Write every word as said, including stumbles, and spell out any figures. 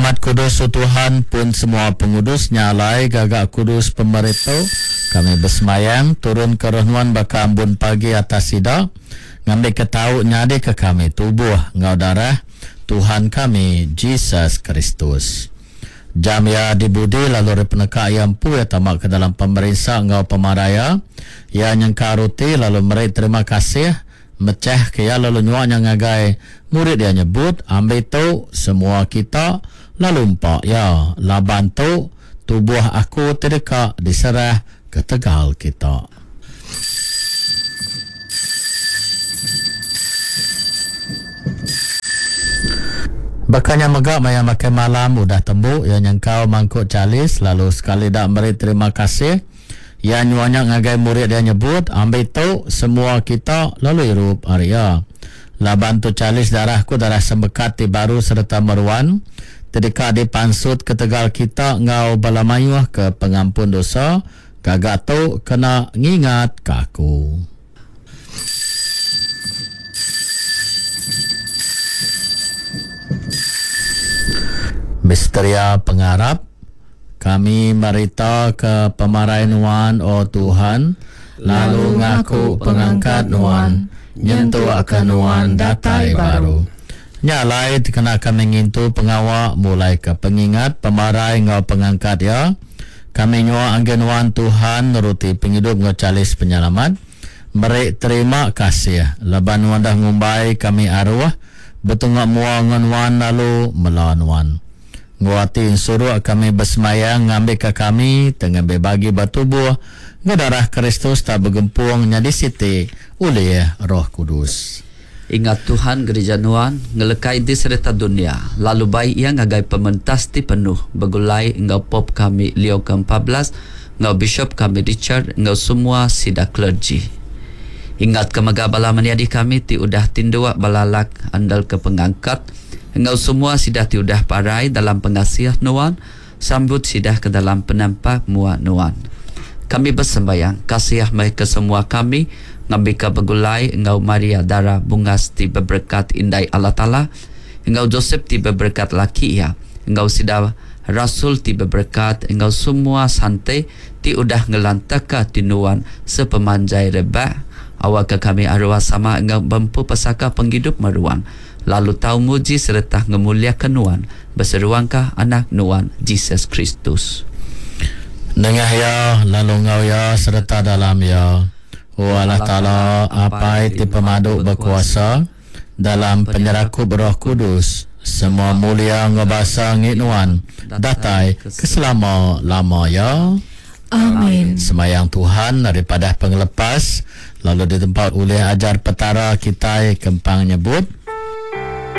Amat kudus, O Tuhan, pun semua pengudus, nya alai gaga kudus pemeri tu, kami besemayang, turunka Roh Nuan baka ambun pagi atas sida, ngambika tau nyadika kami tubuh enggau darah Tuhan kami, Jesus Kristus. Jam iya dibudi lalu ari peneka iya empu iya tama ke dalam pemerinsa enggau pemarai iya, iya nyengkau roti lalu meri terima kasih, mechahka iya lalu nyua nya ngagai murid iya nyebut, Ambi tu, semua kita, lalu empa iya, laban tu tubuh aku ti deka diserah ketegal kita. Baka nya mega maya makai malam udah tembu, iya nyengkau mangkuk chalis lalu sekali da meri terima kasih, iya nyua nya ngagai murid iya nyebut, Ambi tu, semua kita, lalu irup ari iya. Laban tu chalis darah aku, darah sempekat ti baru sereta meruan, ti deka dipansut ketegal kita enggau bala mayuh ke pengampun dosa, gaga tu kena ngingatka aku. Misteria pengarap, kami merita ke pemarai Nuan, O Tuhan, lalu ngaku pengangkat Nuan, nyentuk ke Nuan datai baru. Nya alai dikena kami ngintu pengawa mulai ke pengingat pemarai enggau pengangkat iya, kami nyua agi Nuan Tuhan ruti pengidup enggau chalis penyelamat, meri terima kasih laban Nuan dah ngumbai kami aruh betunga mua enggau Nuan lalu mela Nuan. Enggau ati ensuruk kami besemayang ngambika kami tengambil bagi ba tubuh enggau darah Kristus tak begempung nyadi siti ulih Roh Kudus. Ingat Tuhan Gerija Nuan, ngelekai di sereta dunya, lalu bai iya ngagai pementas ti penuh, begulai enggau Pope kami Leo Keempat belas, enggau Bishop kami Richard, enggau semua sida clergy. Ingat ke mega bala menyadi kami ti udah tinduk belalak andal ke pengangkat, enggau semua sida ti udah parai dalam pengasih Nuan, sambut sida ke dalam penampak mua Nuan. Kami bersembayang, kasih meh ke semua kami, ngambika begulai enggau Maria Dara Bungas ti beberekat Indai Allah Taala, enggau Joseph ti beberekat laki iya, enggau sida Rasul ti beberekat, enggau semua sante ti udah ngelantaka ti Nuan sepemanjai rebak, awakka kami arwah sama enggau bempu pesaka penghidup meruan, lalu tau muji sereta ngemuliakan Nuan, beseruangka anak Nuan, Jesus Kristus. Nengah iya, lalu enggau iya, sereta dalam iya, O Allah Taala, Apai ti pemadu bekuasa, dalam penyerakup Roh Kudus, semua mulia enggau basa ngi Nuan, datai ke selama-lama ya. Amin. Semayang Tuhan daripada pengelepas, lalu ditempat oleh ajar petara kitai kempang nyebut,